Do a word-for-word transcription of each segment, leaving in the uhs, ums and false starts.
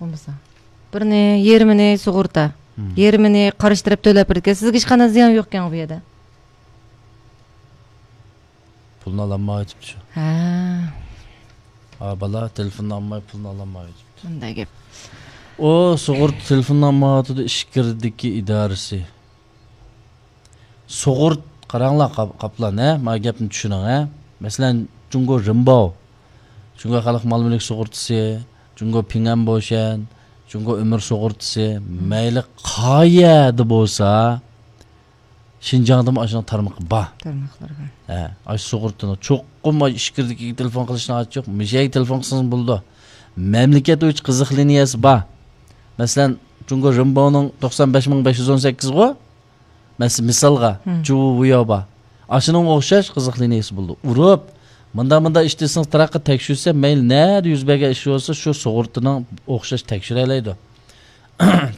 بولمىسا. بىرنى، يېرىمىنى سۇغۇرتا. مم. يېرىمىنى قارشى تەرەپ تۆلەپ بېرىدىكەن. سىزگە ھېچقانداق زىيان يوقكەن بۇ يەردە. پۇلنى ئالالمايۋېتىپتۇ شۇ. ھە. ھا، بالا تېلېفوننى ئالماي، پۇلنى ئالالمايۋېتىپتۇ. مۇنداق گەپ. ئۇ سۇغۇرتا تېلېفوننى ئالمايۋاتىدۇ، ئىچكىرىدىكى ئىدارىسى. سۇغۇرت، قاراڭلار، قاپ-، قاپلان، ھە؟ مانا گەپنى چۈشىنىڭ، ھە؟ مەسىلەن، جۇڭگو رېنباۋ، جۇڭگو خەلق مال مۈلۈك سۇغۇرتىسى، جۇڭگو پىڭئەن بوشەن، جۇڭگو ئۆمۈر سۇغۇرتىسى، مەيلى قايەردە بولسا، شىنجاڭدىمۇ ئاشۇنىڭ تارمىقى بار. تارماقلىرى بار. ھە، ئاشۇ سۇغۇرتىنىڭ چوقۇم ئاشۇ ئىچكىرىدىكىگە تېلېفون قىلىشنىڭ ھاجىتى يوق. مۇشۇ يەرگە تېلېفون قىلسىڭىز بولىدۇ. مەملىكەت بويىچە قىزىق لىنىيەسى بار. مەسىلەن، جۇڭگو رېنباۋنىڭ توقسان بەش مىڭ بەش يۈز ئون سەككىز غۇ؟ مەس-، مىسالغا، مم. جۇۋۇياۋ بار. ئاشۇنىڭغا ئوخشاش قىزىق لىنىيەسى بولىدۇ. ئۇرۇپ، مۇنداق، مۇنداق ئىش دېسىڭىز، تارقىتىپ تەكشۈرسە، مەيلى نەدە يۈز بەرگەن ئىش بولسا، شۇ سۇغۇرتىنىڭ ئوخشاش تەكشۈرەلەيدۇ.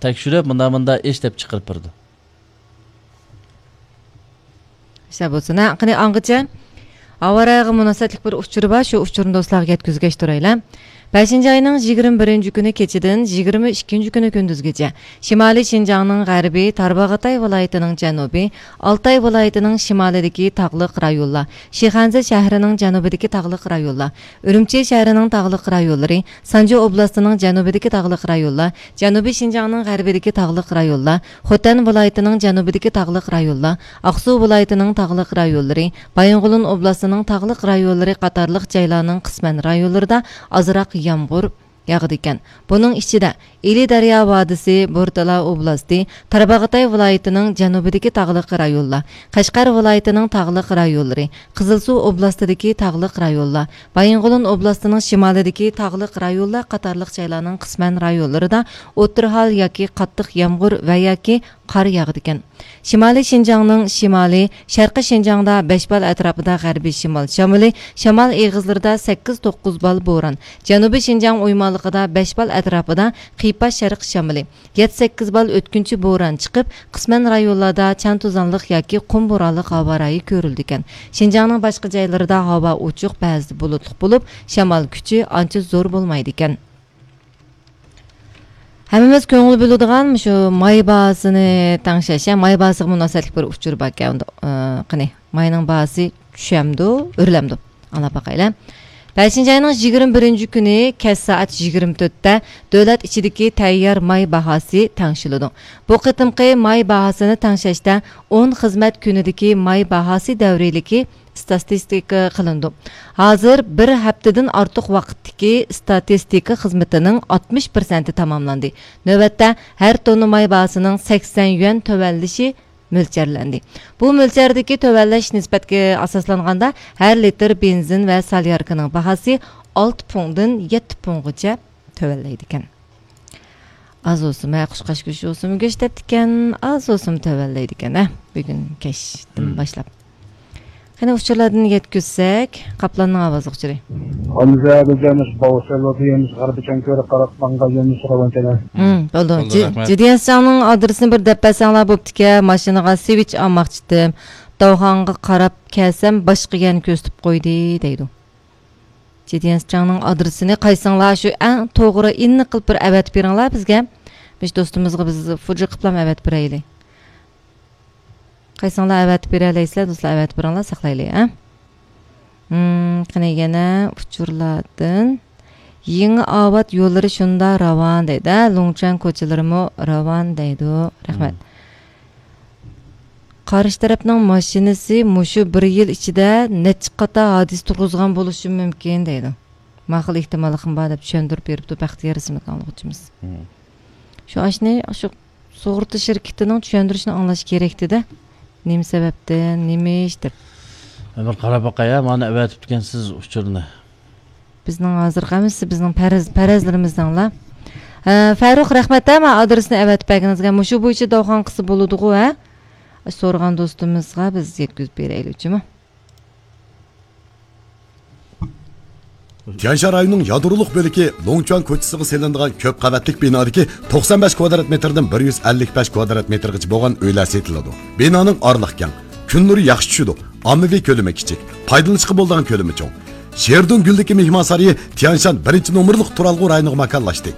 تەكشۈرۈپ، مۇنداق، مۇنداق ئىش دەپ چىقىرىپ بېرىدۇ. ئىشلار بولسۇن، ھە؟ قېنى، ئاڭغىچە ھاۋا رايىغا مۇناسىۋەتلىك بىر ئۇچۇر بار، شۇ ئۇچۇرنى دوستلارغا يەتكۈزگەچ تۇرايلى. بەشىنچى ئاينىڭ يىگىرمە بىرىنچى كۈنى كېچىدىن يىگىرمە ئىككىنچى كۈنى كۈندۈزگىچە شىمالىي شىنجاڭنىڭ غەربى، تارباغاتاي ۋىلايىتىنىڭ جەنۇبى، ئالتاي ۋىلايىتىنىڭ شىمالىدىكى تاغلىق رايونلار، شىخەنزە شەھىرىنىڭ جەنۇبىدىكى تاغلىق رايونلار، ئۈرۈمچى شەھىرىنىڭ تاغلىق رايونلىرى، سانجى ئوبلاستىنىڭ جەنۇبىدىكى تاغلىق رايونلار، جەنۇبىي شىنجاڭنىڭ غەربىدىكى تاغلىق رايونلار، خوتەن ۋىلايىتىنىڭ جەنۇبىدىكى تاغلىق رايونلار، ئاقسۇ ۋىلايىتىنىڭ تاغلىق رايونلىرى، بايىنغولىن ئوبلاستىنىڭ تاغلىق رايونلىرى قاتارلىق جايلارنىڭ قىسمەن رايونلىرىدا ئازراق يامغۇر ياغىدىكەن. بۇنىڭ ئىچىدە ئىلى دەريا ۋادىسى، بورتالا ئوبلاستى، تارباغاتاي ۋىلايىتىنىڭ جەنۇبىدىكى تاغلىق رايونلار، قەشقەر ۋىلايىتىنىڭ تاغلىق رايونلىرى، قىزىلسۇ ئوبلاستىدىكى تاغلىق رايونلار، بايىنغولىن ئوبلاستىنىڭ شىمالىدىكى تاغلىق رايونلار قاتارلىق جايلارنىڭ قىسمەن رايونلىرىدا ئوتتۇرا ھال ياكى قاتتىق يامغۇر ۋە ياكى قار ياغىدىكەن. شىمالىي شىنجاڭنىڭ شىمالى، شەرقىي شىنجاڭدا بەش بال ئەتراپىدا غەربىي شىمال شامىلى، شامال ئېغىزلىرىدا سەككىز توققۇز بال بوران، جەنۇبىي شىنجاڭ ئويمانلىقىدا بەش بال ئەتراپىدا قىيپاش شەرق شامىلى، يەتتە سەككىز بال ئۆتكۈنچى بوران چىقىپ، قىسمەن رايونلاردا چاڭ توزانلىق ياكى قۇم بورانلىق ھاۋا رايى كۆرۈلىدىكەن. شىنجاڭنىڭ باشقا جايلىرىدا ھاۋا ئوچۇق، بەزىدە بۇلۇتلۇق بولۇپ، شامال كۈچى ئانچە زور بولمايدىكەن. ھەممىمىز كۆڭۈل بۆلىدىغان مۇشۇ ماي باھاسىنى تەڭشەش، يا ماي باھاسىغا مۇناسىۋەتلىك بىر ئۇچۇر باركەن. ئۇندا، ئى، قېنى، ماينىڭ باھاسى چۈشەمدۇ، ئۆرلەمدۇ؟ ئاڭلاپ باقايلى. بەشىنچى ئاينىڭ يىگىرمە بىرىنچى كۈنى كەچ سائەت يىگىرمە تۆتتە دۆلەت ئىچىدىكى تەييار ماي باھاسى تەڭشىلىدۇ. بۇ قېتىمقى ماي باھاسىنى تەڭشەشتە ئون خىزمەت كۈنىدىكى ماي باھاسى دەۋرىيلىكى ئىستاتىستىكا قىلىنىدۇ. ھازىر بىر ھەپتىدىن ئارتۇق ۋاقىتتىكى ئىستاتىستىكا خىزمىتىنىڭ ئاتمىش پىرسەنتى تاماملاندى. نۆۋەتتە ھەر توننا ماي باھاسىنىڭ سەكسەن يۈەن تۆۋەنلىشى مۆلچەرلەندى. بۇ مۆلچەردىكى تۆۋەنلەش نىسبەتكە ئاساسلانغاندا، ھەر لىتىر بېنزىن ۋە سالياركىنىڭ باھاسى ئالتە پۇڭدىن يەتتە پۇڭغىچە تۆۋەنلەيدىكەن. ئاز بولسىمۇ، ھە، قۇشقاچ گۆشى بولسىمۇ گۆش دەپتىكەن، ئاز بولسىمۇ تۆۋەنلەيدىكەن، ھە، بۈگۈن كەچتىن باشلاپ. قېنى ئۇچۇرلاردىن يەتكۈزسەك، قاپلاننىڭ ئاۋازلىق ئۇچۇرى. ھەمزە بىزەمىز باۋسەللىدى يەمىز غەربىي چەڭكۆرە قاراپ ماڭغان يەمىز راۋان چەنە. ھىم، بولدى. بولدى، جى-، رەھمەت. جىدىيەنسىچاڭنىڭ ئادرېسىنى بىر دەپ بەرسەڭلار بوپتىكەن، ماشىنىغا سىۋىچ ئالماقچىتىم. داۋخانغا قاراپ كەلسەم، باشقا يەرنى كۆرسىتىپ قويدى، دەيدۇ. جىدىيەنسىچاڭنىڭ ئادرېسىنى قايسىڭلار شۇ ئەڭ توغرا ئېنىق قىلىپ بىر ئەۋەتىپ بېرىڭلار بىزگە. مۇشۇ دوستىمىزغا بىز فوجا قىلىپلام ئەۋەتىپ بېرەيلى. قايسىڭلار ئەۋەتىپ بېرەلەيسىلەر، دوستلار، ئەۋەتىپ بېرىڭلار، ساقلايلى، ھە؟ ھىم، قېنى يەنە ئۇچۇرلاردىن. يېڭى ئاۋات يوللىرى شۇنداق راۋان دەيدۇ، ھە؟ لۇڭچۈەن كوچىلىرىمۇ راۋان دەيدۇ. رەھمەت. ھىم. قارشى تەرەپنىڭ ماشىنىسى مۇشۇ بىر يىل ئىچىدە نەچچە قاتار ھادىسە تۇرغۇزغان بولۇشى مۇمكىن دەيدۇ. ما خىل ئېھتىماللىقىم بار دەپ چۈشەندۈرۈپ بېرىپتۇ بەختىيار ئىسىملىك ئاڭلىغۇچىمىز. ھىم. شۇ ئاشنى، شۇ سۇغۇرتا شىركىتىنىڭ چۈشەندۈرۈشىنى ئاڭلاش كېرەكتىدە. نېمە سەۋەبتىن، نېمە ئىش دەپ. بىر قاراپ باقاي، ھە، مانا ئەۋەتىپتىكەنسىز ئۇچۇرنى. بىزنىڭ ھازىرقى ھەممىسى بىزنىڭ پەرەز، پەرەزلىرىمىزنىڭلا. ھە، فەرۇق، رەھمەت، ھە، مانا ئادرېسنى ئەۋەتىپ بەرگىنىڭىزگە. مۇشۇ بويىچە داۋخان قىلسا بولىدىغۇ، ھە؟ سورىغان دوستىمىزغا بىز يەتكۈزۈپ بېرەيلى، جۇمۇ. تيەنشان رايونىنىڭ يادرولۇق بۆلىكى لوڭچۈەن كوچىسىغا سېلىنىدىغان كۆپ قەۋەتلىك بىنادىكى توقسان بەش كۋادرات مېتىردىن بىر يۈز ئەللىك بەش كۋادرات مېتىرغىچە بولغان ئۆيلەر سېتىلىدۇ. بىنانىڭ ئارىلىقى كەڭ، كۈن نۇرى ياخشى چۈشىدۇ، ئاممىۋى كۆلىمى كىچىك، پايدىلىنىشقا بولىدىغان كۆلىمى چوڭ. شېردۇن گۈلدىكى مېھمانسارىيى تيەنشان بىرىنچى نومۇرلۇق تۇرالغۇ رايونىغا ماكانلاشتى.